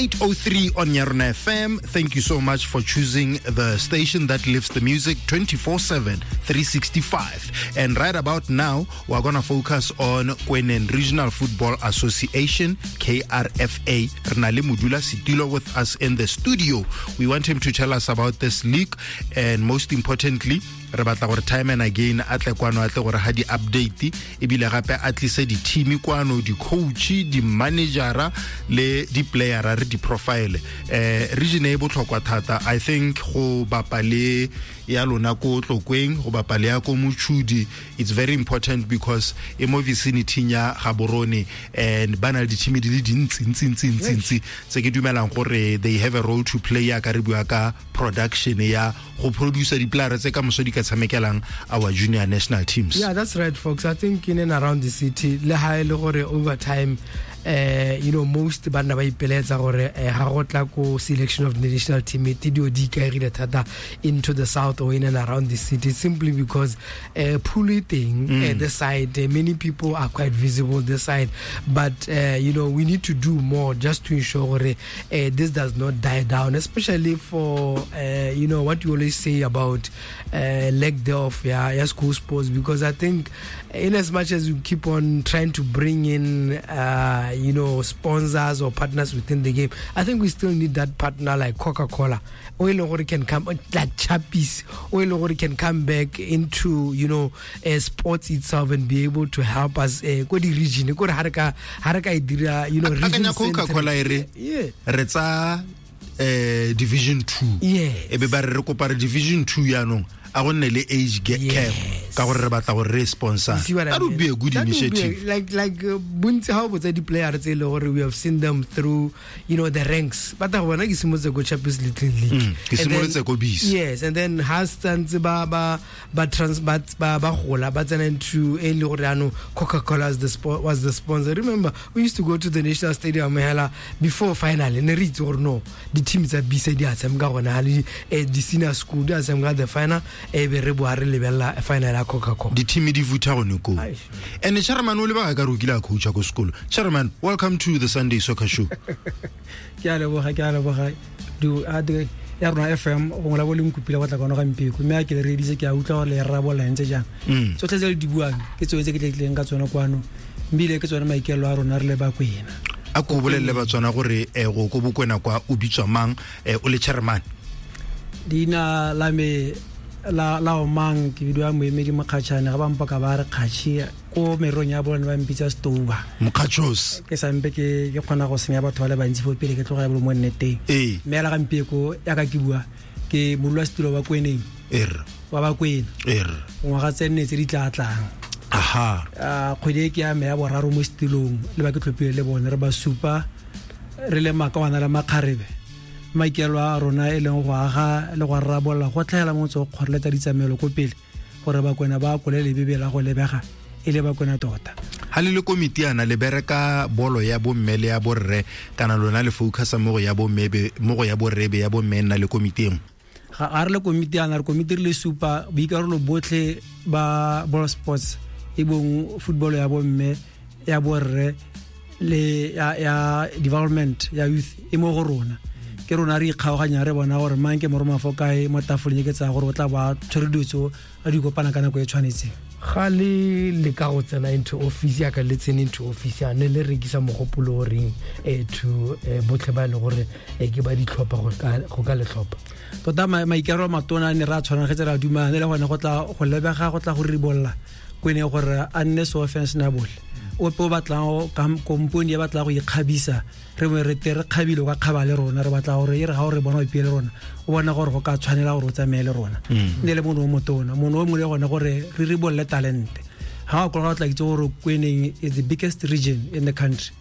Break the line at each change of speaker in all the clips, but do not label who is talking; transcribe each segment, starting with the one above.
8:03 on Yarona FM. Thank you so much for choosing the station that lives the music 24/7, 365. And right about now, we're going to focus on Kweneng Regional Football Association, KRFA. Re na le Modula Setilo with us in the studio. We want him to tell us about this league and, most importantly, re batla gore time and again a tle kwano, a tle gore ha di-update, ebile gape a tlise di-team kwano, di-coach, di-managera le di-playera, re di-profile. Region e botlhokwa thata, I think, go bapa le ya lona ko Tlokweng, go bapa le ya ko Mochudi. It's very important because e mo vicinity ya Gaborone and ba na le di-team di le dintsi ntsi ntsi ntsi ntsi tse ke dumelang gore they have a role to play ya ka re bua ka production ya go producer di-player tse ka moso di ka tshamekelang our junior national teams.
Yeah, that's right, folks. I think in and around the city, le ha e le gore over time, most banna ba ipeletsa gore ha go tla ko selection of the national team, e dio di ikaegile thata into the south or in and around the city, simply because pool e teng this side, many people are quite visible this side, but we need to do more just to ensure gore this does not die down, especially for what you always say about lack thereof ya school sports, because I think in as much as we keep on trying to bring in sponsors or partners within the game, I think we still need that partner like Coca-Cola o e leng gore can come, like Chappies o e leng gore can come back into sports itself and be able to help us ko di region ko re ha re ka e dira region.
Akanya Coca-Cola e re re tsa division 2 e be ba re re kopa re division 2 yaanong a go nne le age cap ka gore re batla gore re sponsor.
You see what I
That would
mean?
be a good
That would be
initiative.
Like bontsi ha o botsa di-player tse e le gore we have seen them through the ranks, but go bona ke simolotse ko Champions Little League.
Ke
And then-
simolotse ko Bees.
Yes, and then ha santse ba trans ba gola, ba tsena into e le gore ano Coca-Cola was the sponsor. Remember, we used to go to the national stadium hela before final, ne re itse gore no, di-team tsa bisa di a tshameka gona ha le di-senior school di a tshameka the final, e be re boa re lebelela final ya Coca-Cola.
Di-team di futha gone koo.
Aish.
And chairman o lebaka ka re o kile a coacha ko sekolo. Chairman, welcome to the Sunday Soccer Show.
Ke a leboga, ke a leboga. Du a di ya rona FM gongwe la bo le nkopile go tla kwano gampeko, mme a ke le reeditse, ke a utlwa gore le rarabolla ntse jang. Tsotlhe tse le di buang ke tsone tse ke tletlileng ka tsone kwano, ebile ke tsone maikaelelo a rona re le Bakwena.
A ko bolelele Batswana gore go ko Bokwena kwa o bitswa mang, o le chairman.
Leina la me la omang ke bidiwa Moemedi Mokgatšhane, ga ba mpoka ba re Kgatšhi, ko merong ya bone ba mpitsa Stouba.
Mokgatšhos.
Ke sampe ke kgona go senya batho ba le bantsi fo pele ke tloga ya bolo mo nneteng. Mme ela gampieko yaka ke bua ke modulasetulo wa Kweneng wa Bakwena ngwaga tse nne tse di tla tlang. Kgwedi e ke ya me ya boraro mo setilong le ba ke tlhophile le bone, re ba supa re le makawana le makgarebe, maikaelelo a rona e leng go aga le go rarabolola go tlhaela motse go kgoreletsa ditsamelo ko pele gore Bakwena ba akole lebebe la go lebega e le Bakwena tota.
Ha le le komiti yana le bereka bolo ya bomme le ya borre, kana lona le focusa mo go ya bomme mo go ya borre, be ya bomme e nna le komiti engwe?
Ga re le komiti yana, re komiti re le supa, boikarolo botlhe ba ball sports e bong football ya bomme, ya borre le ya development ya youth e mo go rona. Ke rona re ikgaoganya, re bona gore mang ke moroma fo kae mo tafoleng e ke tsaya gore o tla ba tshwere dilo tseo a di kopana ka nako e tshwanetseng.
Ga le le ka go tsena into office yaka, le tsene into office ya ne le rekisa mogopolo o reng to botlhe ba e le gore ke ba ditlhopha go ka le tlhopha?
Tota maikaelelo a matona a ne re a tshwanagetse, re a dumane le gone go tla go lebega go tla go ribolola kwene gore a nne so fashionable, ope o batlang kompone e batlang go ikgabisa, re bone re te re kgabile, o ka kgaba le rona. Re batla gore e re ga o re bona o ipee le rona, o bona gore go ka tshwanela gore o tsamaye le rona. Ne le mono o motona mono o mongwe le gone gore re ribolole talente ga o kologa, o tla itse gore Kweneng is the biggest region in the country,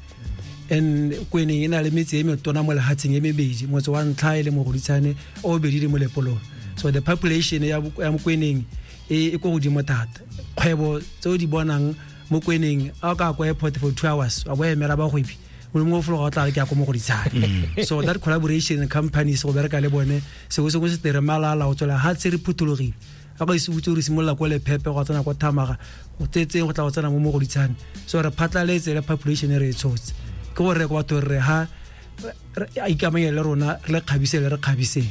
and Kweneng e na le metse e metona mo lehatsheng e mebedi, motse wa ntlha e le Mogoditshane, o bobedi le Molepolong. So the population ya Mokweneng e ko godimo thata. Kgwebo tse o di bonang mo Kweneng, a o ka kwa airport for 2 hours wa bo emela bagwebi, mongwe o fologa o tla re ke ya ko Mogoditshane. So that collaboration companies go bereka le bone, sengwe sengwe se tere malala o tswela ga tse re phuthologile ga go ise botse re simolola ko Lephepe go tsena ko Thamaga go tsetseng go tla go tsena mo Mogoditshane. So re phatlaletse le population e re e tshotse ke gore ko batho re ha a ikamanye le rona re le kgabise le re kgabiseng.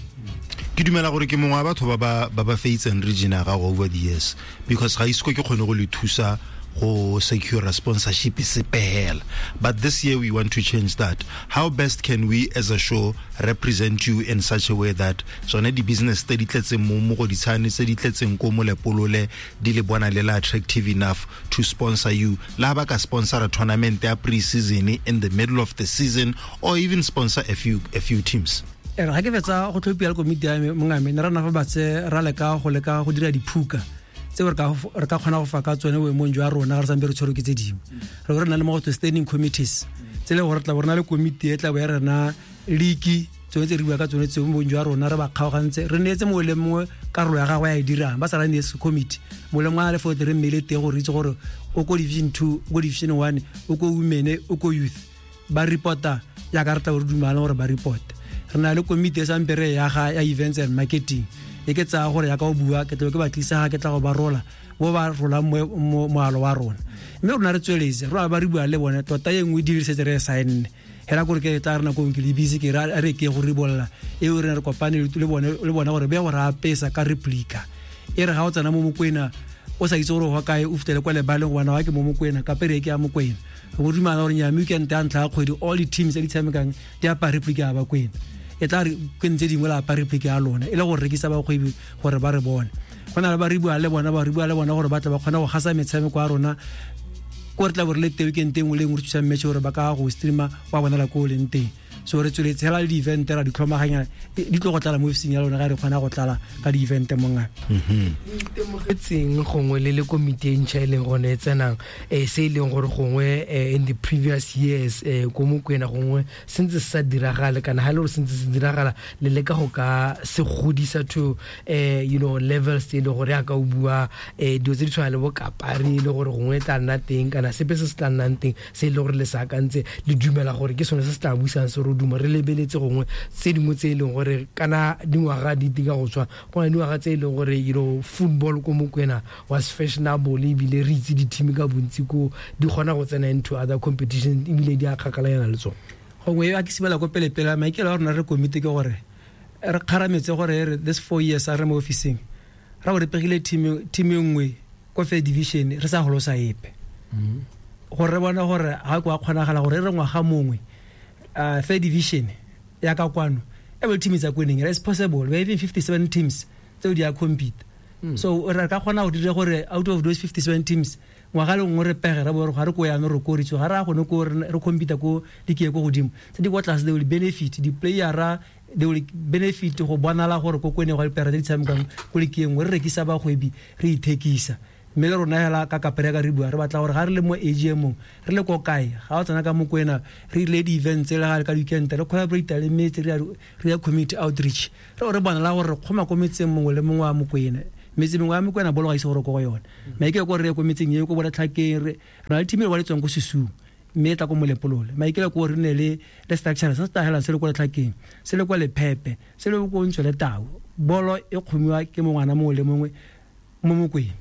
Ke dumela gore ke mongwe wa batho ba ba feitseng region ya gago over the years, because ga ise ke kgone go le thusa go secure a sponsorship sepela. But this year we want to change that. How best can we as a show represent you in such a way that tsone di-business tse di tletseng mo Mogoditshane, tse di tletseng ko Molepolole, di le bona le la attractive enough to sponsor you? La ba ka sponsor a tournament ya pre-season in the middle of the season, or even sponsor a few teams.
Ga ke fetsa go tlhophiwa le komiti ya me mongame, ne ra nna fa batse ra leka go leka go dira diphuka tse re ka kgona go fa ka tsone boemong jwa rona, re sampe re tshwerwe ke tse dingwe. Re re na le mo go standing committees tse le gore tla bo re na le komiti e tla bo ya rena league, tsone tse re bua ka tsone tseo mo boemong jwa rona, re ba kgaogantse, re neetse mongwe le mongwe karolo ya gagwe ya e dirang, ba sa ra neetse committee mongwe le mongwe a le fote re mmele teng gore itse gore o ko division 2, o ko division 1, o ko women, o ko youth, ba reporta ya ka re tla bo re dumalana gore ba report. Re na le komiti e sampe re ya ga ya events and marketing, e ke tsaya gore ya ka o bua ke tla ke ba tlisa ga ke tla go ba rola bo ba rolang moalo wa rona. Mme rona re tsweletse rona ba re bua le bone tota e nngwe dirisetse re sign hela gore ke tla rena ko ke le busy ke re ke go ribolla e re re kopane le bone gore be go ra apesa ka replica e re ga o tsena mo Mokwena o sa itse gore go kae o fitele kwa lebaleng gobane wa ke mo Mokwena ka pere ke ya Mokwena. Go dumela gore nya weekend ya ntlha ya kgwedi all the teams tse di tshamekang di apara replica ya Bakwena, e tla re ke ntse dingwe la apara replica ya lona e le go rekisa bakgwebi gore ba re bone. Go na le ba re bua le bona, ba re bua le bona gore ba tla ba kgona go gasa metshameko ya rona ko re tla bo re le teng weekend e nngwe le nngwe re thusang match gore ba ka go streama wa bonala ko o leng teng. So re tsweletse hela le di-event ra di tlhomaganya di tlo go tlala mo ofising ya lona ga re kgona go tlala ka di-event mongwe.
Itemogetseng gongwe le le komiti e ntšha e leng gone e tsenang, se e leng gore gongwe in the previous years ko Mokwena gongwe se ntse se sa diragale, kana ha e le gore se ntse se diragala le leka go ka se godisa to you know levels tse e leng gore yaka o bua dilo tse di tshwana le bo kapari e le gore gongwe e tla nna teng, kana sepe se se tla nnang teng se e leng gore le se akantse le dumela gore ke sone se se tla busang se re duma re lebeletse gongwe tse dingwe tse e leng gore kana dingwaga di tika go tswa go na dingwaga tse e leng gore you know football ko Mokwena was fashionable ebile re itse di-team ka bontsi ko di kgona go tsena into other competitions ebile di a kgakalanyana le tsone.
Gongwe a ke simolola ko pele-pele maikelo a rona re komiti ke gore re kgarametse gore this 4 years a re mo ofising ra bo re pegile team e nngwe ko first division re sa golosa epe, gore re bona gore ga ko a kgonagala gore re ngwaga mongwe third division ya ka kwano every team is a winning, it's possible we have 57 teams tseo di a compete. So re ka kgona go dira gore out of those 57 teams ngwaga le nngwe re pege re bore ga re ko yana re koritso ga re a gone ko re compete ko di ke ko godimo tse di kwa tlase, they will benefit di player, they will benefit go bonala gore ko kwene go dipere tse di tshamekang ko lekeng re rekisa bagwebi re ithekisa. Mme le rona hela ka kapere ka re bua re batla gore ga re le mo AGM re le ko kae ga o tsena ka Mokwena re ile di-events le ga le ka weekend re collaborate le metse re ya community outreach re re bonala gore re kgoma ko metseng mongwe le mongwe wa Mokwena. Metse mengwe ya Mokwena bolo ga ise gore ko go yone maikelo ko re ye ko metseng e ko Boletlhakeng re na le team e ba le tswang ko Sesung mme e tla ko Molepolole maikelo ko re ne le structure se se tla se le ko Letlhakeng se le kwa Lephepe se le ko Ntswele Tau bolo e kgomiwa ke mongwana mongwe le mongwe mo Mokwena.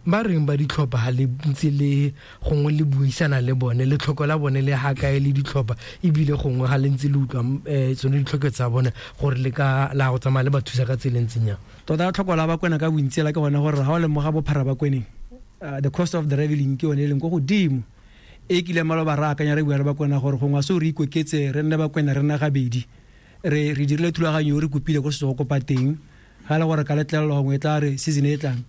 Ba reng ba ditlhopha ha le ntse le gongwe le buisana le bone le tlhoko la bone le ha kae le ditlhopha ebile gongwe ha le ntse le utlwa tsone ditlhoko tsa bone gore le ka la go tsamaya le ba thusa ka tsela e ntseng jang?
Tota tlhoko la Bakwena ka bontsi la ke gone gore ha o lemoga bophara Bakweneng the cost of the travelling ke yone e leng ko godimo e kile maloba ra akanya re bua le Bakwena gore gongwe se re ikoketse re nne Bakwena re nna gabedi re dirile thulaganyo re kopile ko setso go kopa teng ga le gore ka letlelelo gongwe e tla re season e tlang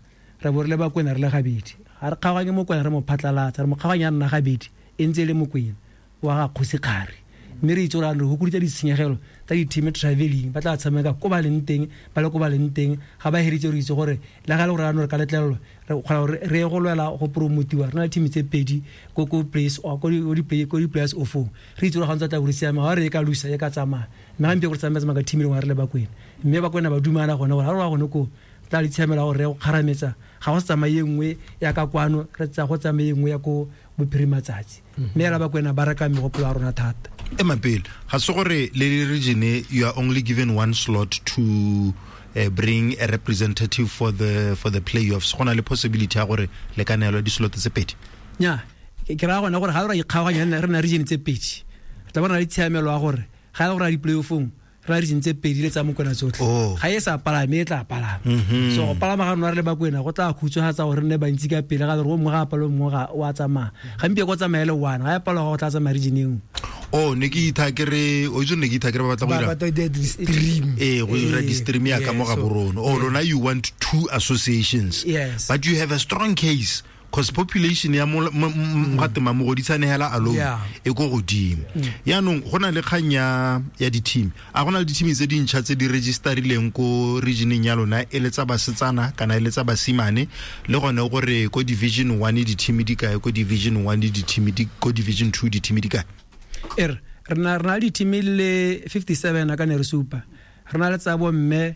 re bo re le Bakwena re le gabedi ga re kgaoganye Mokwena re mo phatlalatsa re mo kgaoganya nna gabedi e ntse e le Mokwena wa ga Kgosi Kgari mme re itse gore re hokoditse ditshenyegelo tsa di-team travelling ba tla tshameka ko ba leng teng ba le ko ba leng teng ga ba heritse re itse gore le ga le gore ano re ka letlelelo re kgona gore re ye go lwela go promotiwa re na le team tse pedi ko place or ko di-players ofong re itse gore ga ntse tla gore siame ga re e ka lusa e ka tsamaya mme gampe gore tsamaya ka team e lengwe re le Bakwena mme Bakwena ba dumana gone gore ga re wa gone ko tla le tshiamela gore re go kgarametsa ga go tsamaye nngwe ya ka kwano re tsa go tsamaye nngwe ya ko bophirimatsatsi mme ela Bakwena ba reka megopolo ya rona thata.
Ema pele ga se gore le region you are only given one slot to bring a representative for the playoffs, go na le possibility ya gore le ka neelwa di-slot tse pedi?
Nya ke raya gone gore ga re ra ikgaoganya re na region tse pedi re tla bona le tshiamelo ya gore Ga e le gore a di-playoffong re la region tse pedi le tsa Mokwena tsotlhe.
Oh.
Ga e sa palame e tla palama. So go palama ga rona re le Bakwena go tla khutshwafatsa gore re nne bantsi ka pele, ga gore o mongwe ga a palwe, o mongwe ga o a tsamaya. Gampieno go tsamaya le one, ga e palwa go tla tsamaya region e nngwe.
Oh, ne ke itha ke re, o itse ne ke itha ke re ba batla go
Ba
dira
batla go dira di-stream.
Ee, go dira di-stream ya ka mo ga borone. Oh, lona you want two associations.
Yes.
But you have a strong case because population ya mo ga tema Mogoditshane hela alone e ko godimo. Yaanong go na le kgang ya di-team. A go na le di-team tse dintšha tse di registerileng ko regioneng ya lona, e le tsa basetsana kana e le tsa basimane, le gone gore ko division 1 di-team di kae, ko division 1 di-team di, ko division 2 di-team di kae?
Re na le di-team le 57 a ka ne re supa. Re na le tsa bomme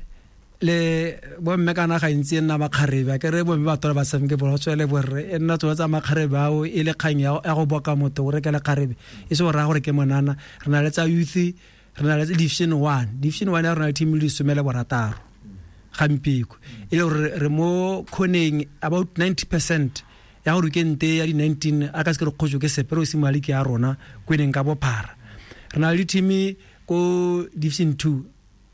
le bomme kana gantsi e nna makgarebe, a ke re bomme ba tola ba tshameke bolo, go tswele borre, e nna tsone tsa makgarebe ao e le kgang ya go boka motho o reke lekgarebe, e se go raya gore ke monana. Re na le tsa youth, re na le tsa division 1. Division 1 ya rona le team le 16 gampieko, e le gore re mo kgoneng about 90% ya gore ke nte ya di 19 a ka se ke re kgotso ke sepe, re o simolola league ya rona Kweneng ka bophara. Re na le team ko division 2,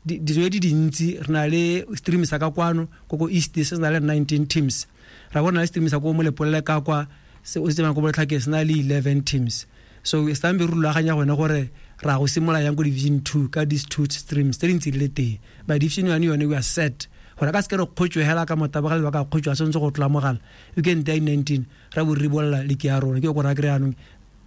dijo di dintsi, re na le stream sa ka kwano ko ko East, se se na le 19 teams. Ra bona le stream sa ko Molepolole ka kwa, se o se tsebayang ko Botlhake, se na le 11 teams. So e sambe re rulaganya gone gore ra go simolola yang ko division 2 ka these two streams tse dintsi di le teng. But division 1 yone we are set gore ka se ke re kgotso hela ka motabogelo ba ka kgotso a sentse go tlola mogala. You can die 19 ra bo ribolla league ya rona. Ke go ra kry anong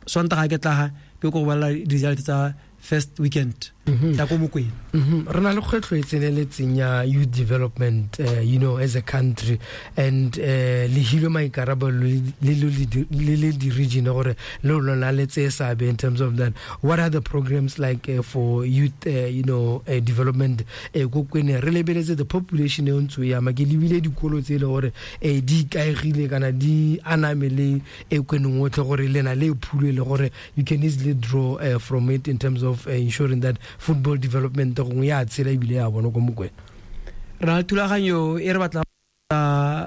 Sontaga ke tlaga ke go bolela result tsa first weekend. Ya ko Mokwena.
Re na le kgwetlho e tseneletseng ya youth development, you know, as a country, and le hilwe maikarabelo le le di-region gore le lona le tseye seabe in terms of that. What are the programs like for youth, you know, development, ko Kwena? Re lebeletse the population e ntse e ama, ke lebile dikolo tse e le gore, di ikaegile kana di aname le e Kweneng otlhe, gore le na le phulo e le gore you can easily draw from it in terms of ensuring that football development gongwe ya tshela ebile ya bona ko Mokwena.
Re na le thulaganyo e re batla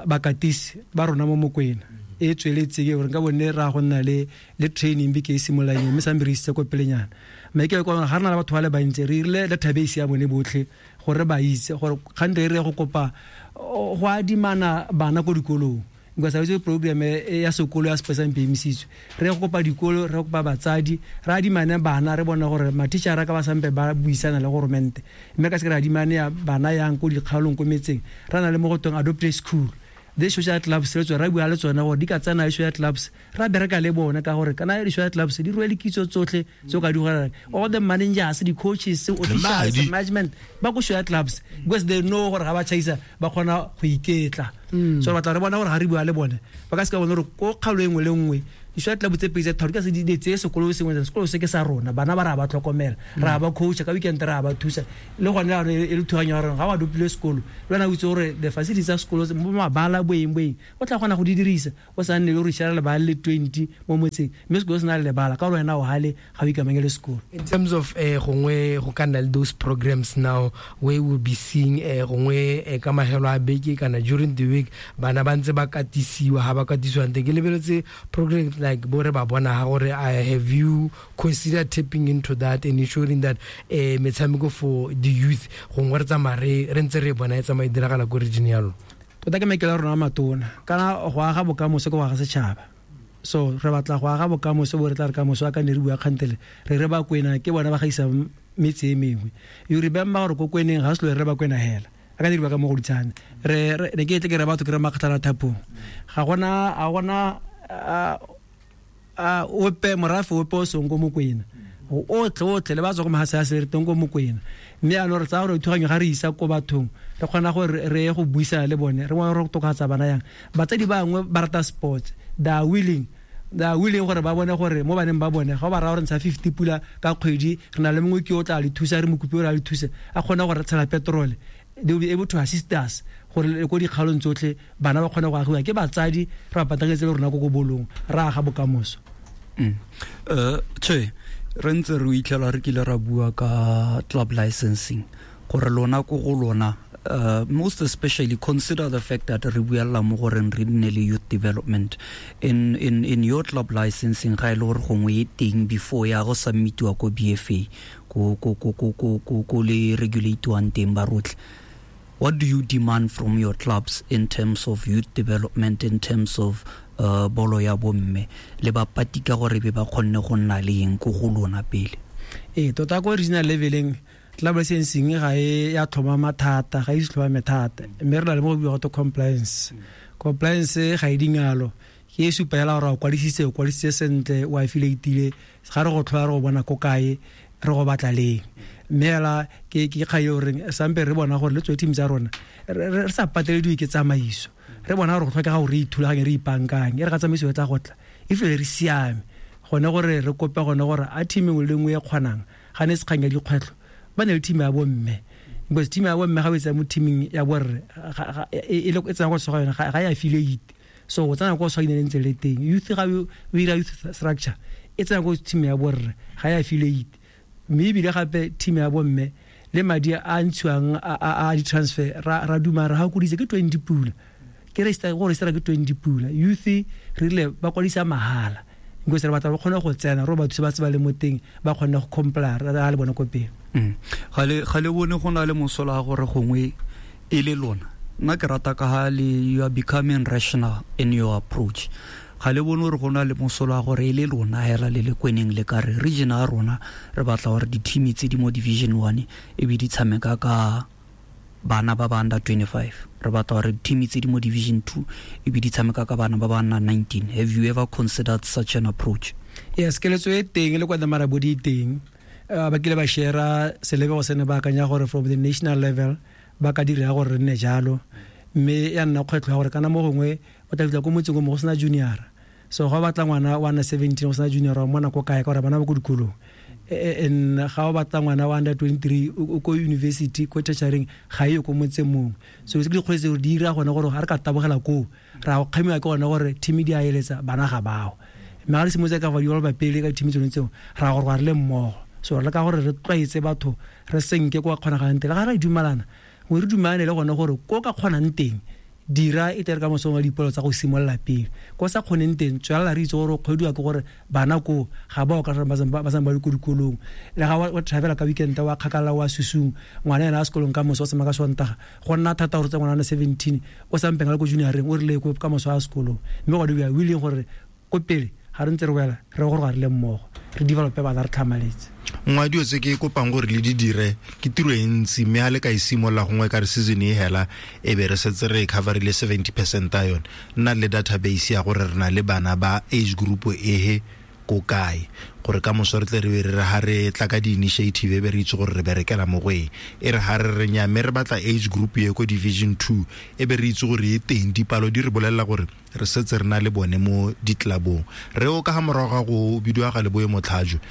bakatisi ba rona mo Mokwena e tsweletse ke gore nka bone ra go nna le training beke e simololang, mme sambe re isitse ko pelenyana. Mme ke kwa ga re na le batho ba le bantsi, re irile database ya bone botlhe gore ba itse gore kgante e re go kopa go adimana bana ko dikolong. Nka sa itse program e ya sekolo ya Sepesa mpe emisitswe. Re go kopa dikolo, re kopa batsadi, re adimane bana, re bona gore mathichara ka ba sampe ba buisana le goromente. Mme ka se re adimane ya bana yang ko dikgaolong ko metseng, re na le mo go tweng adopt a school. The social clubs re tswa ra bua le tsona gore di ka tsena social clubs, ra bereka le bona ka gore kana di social clubs di rwele kitso tsotlhe tse o ka di golang. All the managers, the coaches, the officials, the management ba ko social clubs because they know gore ga ba chaisa ba kgona go iketla. So re batla re bona gore ga re bua le bone ba ka se ka bona gore ko kgaolo e nngwe le nngwe di-social club tse pedi tse tharo di ka se di tseye sekolo sengwe, sekolo se ke sa rona, bana ba re a ba tlhokomela, re a ba coacha ka weekend, re a ba thusa. Le gone jaanong e le thuganyo ya rona, ga o adopile sekolo le wena o itse gore the facilities tsa sekolo tse, mo mabala boeng boeng o tla kgona go di dirisa, o sa nne le gore share lebala le 20 mo motseng, mme sekolo se na le lebala ka gore wena o hale ga o ikamanye le sekolo.
In terms of gongwe go ka nna le those programs now where we'll be seeing gongwe ka magelo a beke kana during the week bana ba ntse ba katisiwa, ha ba katisiwa ntse ke lebeletse programs like bo re ba bona ha gore, have you considered tapping into that and ensuring that metshameko for the youth gongwe re tsamaya re ntse re bona e tsamaya e diragala ko region ya lona?
Tota ke maikelo a rona a matona, kana go aga bokamoso ke go aga setšhaba. So re batla go aga bokamoso bo re tla re kamoso a ka ne re bua kgantele re re ba Kwena ke bona ba gaisang metse e mengwe. You remember gore ko Kweneng ga se lo re ba Kwena hela, a ka diriwa ka Mogoditshane. Re, re, ne ke tle ke re batho ke re makgatlana thapong. Ga gona, ga gona, a, ope, morafe ope o seng ko Mokwena. Otlhe, otlhe, le ba tswa ko Mahase a se re teng ko Mokwena. Mme jaanong re tsaya gore thuganyo ga re isa ko bathong, re kgona gore re ye go buisana le bone, re bone gore tokafatsa bana yang. Batsadi ba bangwe ba rata sports, they are willing, they are willing gore ba bone gore mo baneng ba bone, ga o ba raya gore ntsha 50 pula ka kgwedi, re na le mongwe ke o tla le thusa, re mo kope gore a le thuse, a kgone gore re tshela petrol. They will be able to assist us gore le ko dikgaolong tsotlhe bana ba kgone go agiwa ke batsadi, re ba patagetse le rona ko ko bolong, re aga bokamoso.
Che, re ntse re itlhela re kile ra bua ka club licensing gore lona ko go lona Most especially consider the fact that re buella mo goreng re nne le youth development in in in your club licensing, ga e le gore gongwe e teng before ya go submitiwa ko BFA, ko ko ko ko ko ko ko le regulatiwang teng ba rotlhe. What do you demand from your clubs in terms of youth development, in terms of bolo ya bomme le bapati, ka gore be ba kgonne go nna le eng ko go lona pele?
Ee, tota ko regional leveleng club licensing ga e ya tlhomama thata, ga e se tlhomame thata, mme re na le mo go biwa gote compliance. Compliance ga e dingalo, ke e supa fela gore o kwadisitse, o kwadisitse sentle, o affiliatile. Ga re go tlhola, re go bona ko kae, re go batla leng. Mme fela ke kgang e goreng sampe re bona gore le tswe team tsa rona re sa patelediwe ke tsamaiso. Re bona gore go tlhokega gore re ithulaganye, re ipankanye, e re ga tsamaiso e tla go tla e fele re siame gone gore re kope gone gore a team engwe le nngwe e kgonang ga ne se kgang ya dikgwetlho ba ne le team ya bomme, because team ya bomme ga o e tsaya mo teaming ya borre e tsena ko tsoga yone ga e affiliate. So o tsena ko tshwa ine ntse le teng youth, ga o ira youth structure e tsena ko team ya borre ga e affiliate. Mme ebile gape team ya bomme le madi a ntshiwang a di-transfer ra duma re ga kodise ke 20 pula, ke register go register ke 20 pula. Youth re rile ba kwadisa mahala because re batla ba kgone go tsena, re ba thuse ba tse ba le mo teng ba kgone go comply re le bone ko pele.
Ga le bone go na le mosola gore gongwe e le lona, nna ke rata ka ha le you are becoming rational in your approach, ga le bone gore go na le mosola gore e le lona hela le le kweneng le ka re region ya rona re batla gore di-team tse di mo division 1 e be di tshameka ka bana ba ba under 25, re batla gore team tse di mo division 2 e be di tshameka ka bana ba ba under 19? Have you ever considered such an approach?
Yes, keletso e teng le kwa Marabodi e teng. Ba kile ba share selebego se ne ba akanya gore from the national level ba ka dira gore re nne jalo, mme ya nna kgwetlho ya gore kana mo gongwe o tla fitlha ko motseng o mo go sena junior. So ga o batla ngwana wa under 17 go sena junior, wa mmona ko kae? Ka gore bana ba ko dikolong. And ga o batla ngwana wa under 23 o ko university, ko tertiaryng, ga e ko motseng mongwe. So ke dikgwetlho tse di dira gone gore ga re ka tabogela koo ra go kgamiwa ke gone gore team di a eletsa bana ga bao. Mme ga re simolotse ka fa di ba pele ka team tsone tseo ra gore re le mmogo. So re leka gore re tlwaetse batho re senke kwa kgonagalang teng, le ga re dumalana ngwe re dumalane le gone gore ko ka kgonang teng dira e tere ka mosong wa dipolo tsa go simolola pele, ko sa kgoneng teng tswelela. Re itse gore o kgwediwa ke gore bana ko ga ba o ka ba ba le ko dikolong, le ga wa travela ka weekend wa kgakala wa susung, ngwana ena a sekolong ka moso o tsamaya ka Sontaga, go nna thata gore tse ngwana 17 o sampeng a le ko junioreng o rile ko ka moso a sekolong. Mme gone we are willing gore ko pele ga re ntse re wela re gore ga re le mmogo re develope bana re tlhamaletse.
Nngwe dilo tse ke kopang gore le di dire ke tiro e ntsi, mme ga le ka e simolola gongwe ka re season e hela e be re setse re coverile 70% ya yone, nna le database ya gore re na le bana ba age group ehe ko kae, gore ka moso re tle re be re re ha re tla ka di-initiative e be re itse gore re berekela mo go eng. E re ha re re nya mme re batla age group e ko division 2 e be re itse gore e teng, dipalo di re bolelela gore re setse re na le bone mo ditlabong. Re o ka ga morago ga go bidiwa ga Leboe Motlhajo,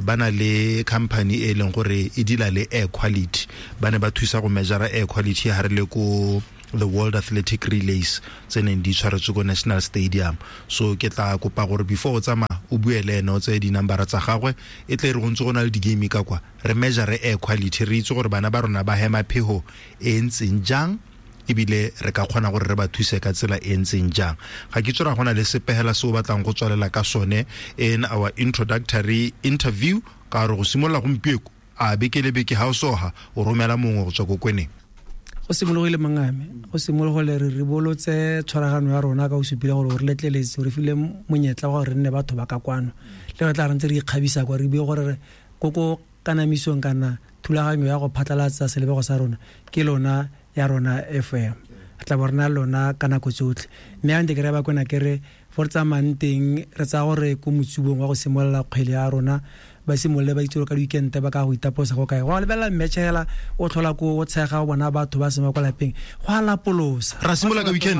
ba na le company e leng gore e deala le air quality, ba ne ba thusa go measure air quality ha re le ko the World Athletic Relays tse neng di tshwaretswe ko National Stadium. So ke tla kopa gore before o tsamaya o bue le ene, o tseye di-numbera tsa gagwe, e tle re go ntse go na le di-game ka kwa re measure air quality, re itse gore bana ba rona ba hema phego e ntseng jang, ebile re ka kgona gore re ba thuse ka tsela e ntseng jang. Ga ke tsora go na le sepegela se o batlang go tswalela ka sone in our introductory interview, ka gore go simolola gompieko a beke le beke ga o soga o romela mongwe go tswa ko kweneng.
Go simologile mangame, go simologile re ribolotse tshwaragano ya rona ka o supile gore re letleletse, re file monyetla wa gore re nne batho ba ka kwano le re tla re ntse re ikgabisa kwa, re bue gore ko ko kanamisong kana thulaganyo ya go phatlalatsa selebego sa rona ke lona ya rona FM, re tla bo re na lona ka nako tsotlhe. Mme a ntse ke re ba kwena ke re fo re tsamayang teng re tsaya gore ko motsubong wa go simolola kgwele ya rona ba simolole ba itse gore ka di-weekend ba ka go itaposa go kae, go lebelela match hela o tlhola ko o tshega o bona batho ba sema kwa lapeng go a lapolosa.
Ra simolola ka weekend?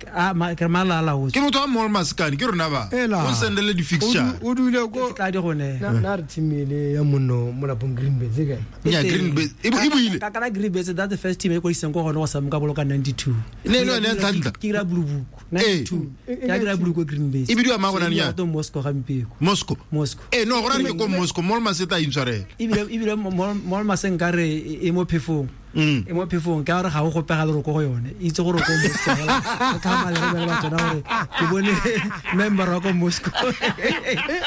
A ma ke malala o
ke motho wa mall maskane ke rona ba o sendele di-fixture
o dule ko
ke tla di gone
na re team ele ya monno mo lapong Green Birds e kae?
Nya Green Birds e buile
ka kana Green Birds, that's the first team e kwadiseng ko gone go sa ka boloka 92
ne ne ne ntla
ke ira Blue Book 92 ke ira Blue Book Green Birds
e bidiwa ma gona nya
to Moscow gampeko
Moscow
Moscow
no go rane ko Moscow mall maseta intshwarela
ebile mall maseng ka re e mo phefong. E mo phefong ka gore ga o gopega le ko go yone, itse gore ko Moscow o tlhama le re ba tsona gore ke bone member wa ko Moscow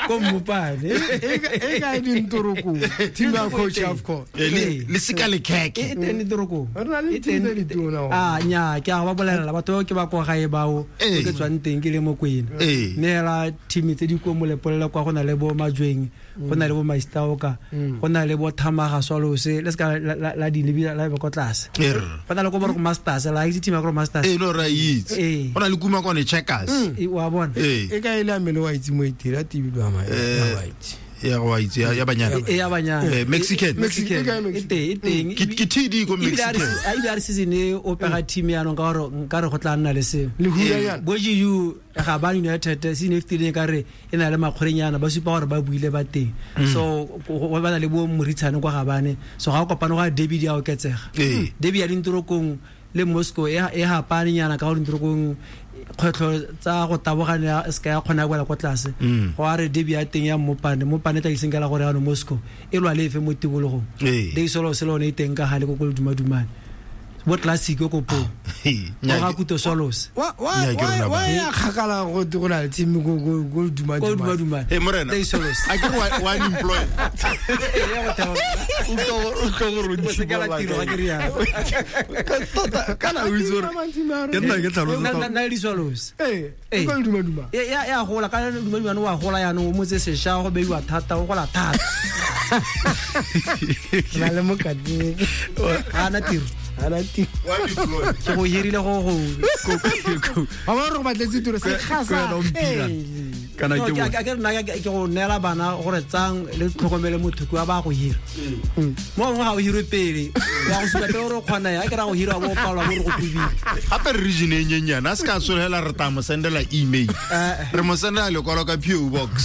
ko Mmopane.
E kae dintoroko team ya coach AFCON?
Le seka le kheke.
E teng ditorokong.
Re na le
E teng.
team tse ditona.
A nya ke a ba bolelela batho bao ke ba kwa gae bao ke tswang teng ke le Mokwena. Mme hela team tse di ko Molepolole kwa go na le bo Majweng, go na le bo Maistaoka, go na le bo Thamaga Swallows, le se ka la di lebila la be ko tlase. Go na le ko ba re ko Masters, la itse team ya ko Masters.
Ee, no ra itse. Go na le kuma kone Checkers.
Wa bona.
E ka ile a mele wa itse mo itira tibilwa ma ya wa itse.
Ya go itse ya banyana.
E ya banyana.
Mexican.
Mexican.
Mexican.
E teng, e teng.
Ke TD ko
Ebile a re
Mexican.
ebile a re season e o pega team yanong ka gore nka re go tla nna le seo.
Le hula yana.
Bo GU ga ba United season e fetileng ka re e na le makgorenyana, ba supa gore ba buile ba teng. So go ba na le bo Moritshane kwa Gabane, so ga o kopane go a derby di a oketsega. Derby ya dintorokong le Moscow e hapane nyana ka gore dintorokong kgwetlho tsa go tabogane se ka ya kgona go wela kwa tlase. Go a re derby ya teng ya Mmopane, Mmopane tla iseng ka la gore yanong Moscow e lwa le efe mo tikologong. Dei solo se lone e teng ka gale ko ko Ledumadumane. Bo Classic ko po.
Nya
Go ga Kuto Swallows.
Wa
Nya ke rona
wa
ba.
ya kgakala go te go na le team ko ko ko duma
Ko
duma.
Dumadumane.
Hey morena.
Dei Swallows.
A ke re wa unemployed. O tlo go
O se ka la tiro ga ke rialo.
Tota kana o itse gore ke nna ke tlhalosa.
Nna le di Swallows.
Ee, ko duma duma.
E ya gola ka Dumadumane wa gola yanong o motse sešwa go beiwa thata o gola thata.
Na le mokati.
Ga ana tiro.
Ana tiro.
Wa unemployed.
Ke go hirile go go
Ba bona gore go batletse tiro se gasa.
Kwena o mpira. Kana
No,
ke
ke
bone.
ke re nna ke go neela bana gore tsang le tlhokomele motho ke wa ba go hira. Mo gongwe ga o hirwe pele wa go supa pele gore o kgona ya ke ra go hira bo palwa bo re go tubile.
Gape re region e nyenyane a se ka tsholela re tla mo sendela email. Re mo sendela lekwalo ka PO box.